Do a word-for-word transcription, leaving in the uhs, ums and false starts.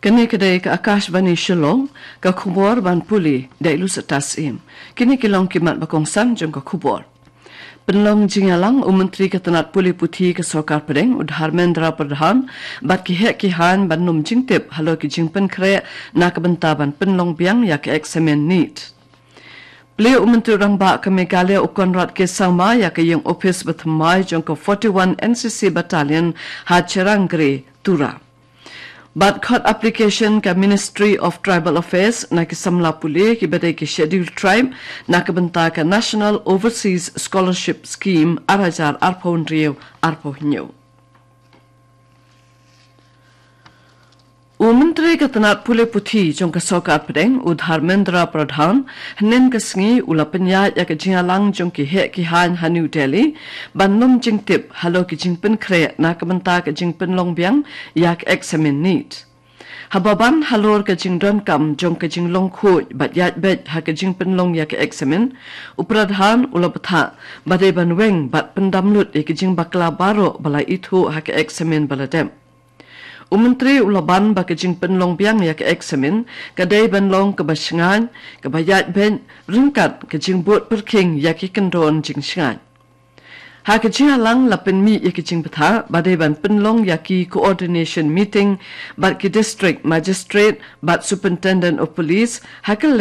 Kane ka dei ka Akashvani Shillong, ka khubor ban pule da i Lucy Tasim. Kine ki long ki mat ba kongsan jong ka khubor. Pynlong jingïalang u Myntri ka tnat pule puthi ka Sorkar Pdeng u Dharmendra Pradhan bad ki heh ki haiñ ban ym jingtip halor ki jingpynkhreh na ka bynta ban pynlong biang ïa ka eksamin NEET. Plie u Myntri Rangbah ka Meghalaya u Conrad K Sangma ïa ka ïing ophis ba thymmai jong ka forty-one N C C Battalion ha Cherangre, Tura. Bad khot application ka Ministry of Tribal Affairs na ki samla pule kiba dei ki Scheduled Tribe na ka bynta ka National Overseas Scholarship Scheme ar hajar arphew hynriew arphew hynñiew. U Myntri ka tnat pule puthi jong ka Sorkar Pdeng u Dharmendra Pradhan hynnin ka sngi u la pynïaid ïa ka jingïalang jong ki heh ki haiñ ha New Delhi ban ym jingtip halor ki jingpynkhreh na ka bynta ka jingpynlong biang ïa ka eksamin NEET. Haba ban halor ka jingdonkam jong ka jinglong khuid bad ïaid beit ha ka jingpynlong ïa ka eksamin, u Pradhan u la bthah ba dei ban weng bad pyndam lut ïa ka jingbakla baroh ba la ithuh ha ka eksamin ba la dep. U Myntri u la ban ba ka jingpynlong biang ïa ka eksamin ka dei ban long kaba shngaiñ, kaba ïaid beit ryngkat ka jingbud pyrkhing ïa ki kyndon jingshngaiñ. Ha ka jingïalang la pynmih ïa ka jingbthah ba dei ban pynlong ïa ki coordination meeting bad ki district magistrate bad superintendent of police ha ka